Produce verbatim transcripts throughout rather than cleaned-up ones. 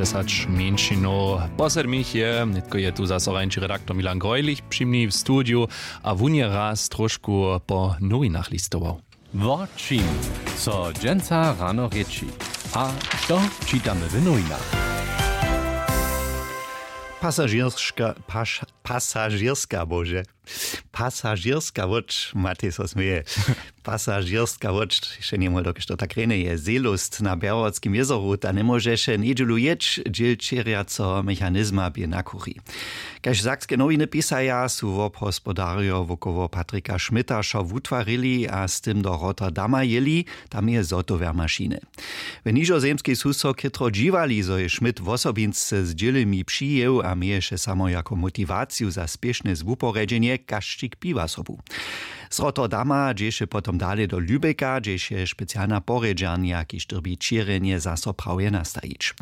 Dźesać mjeńšinow. Poslednich je nětko je tu zaso rańši redaktor Milan Grojlich při mni w studiju, a wón je raz trošku po nowinach listował. Wo čim, co dźensa rano rěči, a što čitamy w nowinach? Pasažěrska paš, pasažěrska bože, pasažěrska łódź, Matej so směje. Pasažěrska łódź, še njemóhł dokelž to tak rjenje je, Seelust na Bjerhowatskim jězoru, ta njemóžeše njedźelu jěć, dźěl ćěrjaceho mechanizma bě na kuchi. Kaž sakske nowiny pisaja, su wobhospodarjo wokoło Patrika Schmidta wšo wutwarili a z tym do Rotterdama jěli. Tam je zhotowjer mašiny. W nižozemskej su so chětro dźiwali, zo je Schmidt wosobinsce z dźělemi přijěł a měješe samo jako motiwaciju za spěšne zwuporjedźenje kašćik piwa sobu. Z Rotterdama dźěše potom dale do Lübecka, hdźež je specialna porjedźarnja, kiž dyrbi ćěrjenje zaso prawje nastajić.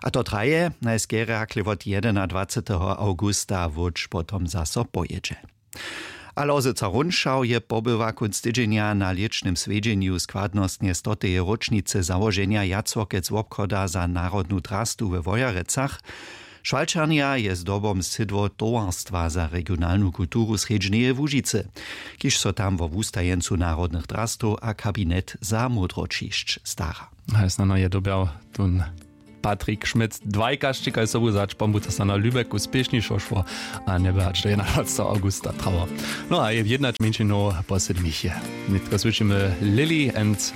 A to traje najskerje hakle wot jedenadwaceteho awgusta, wódź potom zaso pojědźe. A Lozyca Runšaw je pobyła kónc tydźenja na lěćnym swjedźenju składnostnje stoteje róčnicy załoženja Jacworkec wobchoda za narodnu drastu we Wojerecach. Šwalčarnja je zdobom sydło towarstwa za regionalnu kulturu Srjedźneje Łužicy, kiž so tam wo wustajeńcu narodnych drastow a kabinet za módroćišć stara. Haj snano je dobjał tón Patrik Schmidt dwaj kašćikaj sobu zać, pombuta so na Lübecku spěšnišo šło, a njeby hač do jedenadwaceteho awgusta trało. No a je jednać mjeńšinow poslednich je. Nětko słyšimy Lily and